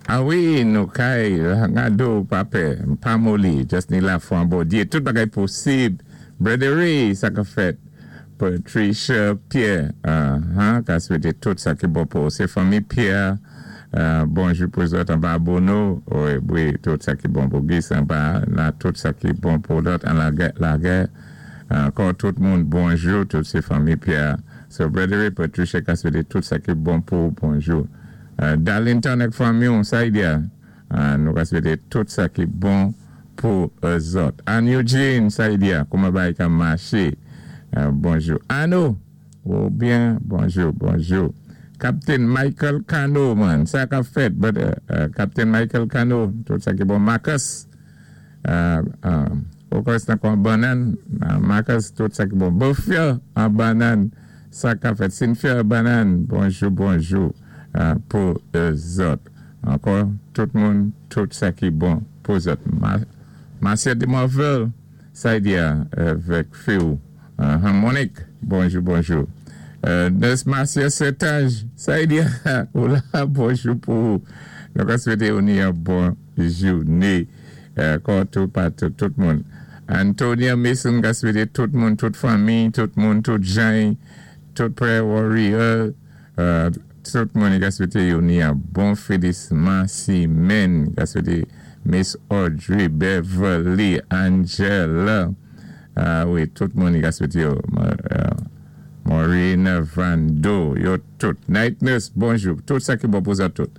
A wi, nou kay Rado pa pè, pa moli, just ni lafwa an Bondyé, tout bagay posib. Brother Ray, sa ka fèt? Patricia Pierre, uh-huh, ka swété tout sa ki bon pou sé fanmi Pierre, bonjou pou zòt anba Bono, wi, wi, tout sa ki bon pou Gis anba la, tout sa ki bon pou lòt an lagè, lagè, ankò tout moun bonjou, tout sé fanmi Pierre. So Brother Ray, Patricia ka swété tout sa ki bon pou bonjou. Darlington ak fanmi w, Saidia, nou ka swété tout sa ki bon pou zòt. Ann Eugene, Saidia, kouman bagay ka maché? Bonjou. Ano, ou byen? Bonjou, bonjou. Captain Michael Cano, man, sa ka fèt, brother? Captain Michael Cano, tout sa ki bon. Marcus, ou kwè sé tankou an bannann, Marcus, tout sa ki bon. Bofia, an bannann, sa ka fèt? Cynthia, bannann, bonjou, bonjou pou zòt. Ankò, tout moun, tout sa ki bon pou zòt. Marcia de Morville, Saidia, avèk fi ou. Monique, bonjou, bonjou. Nurse Marcia Sertage, Saidia, ou la, bonjou pou ou. Nou ka swété ou ni yon bon jouné. Ankò tou patou, tout moun. Antonia Mason ka swété tout moun, tout fanmi, tout moun, tout jan, tout prayer warrior, tout moun ka swété yo ni yon bon finisman simenn. Ka swété Miss Audrey, Beverly, Angela, wi, tout moun ka swété yo. Maureen Vando, yo tout. Night Nurse, bonjou. Tout sa ki bon pou zòt tout.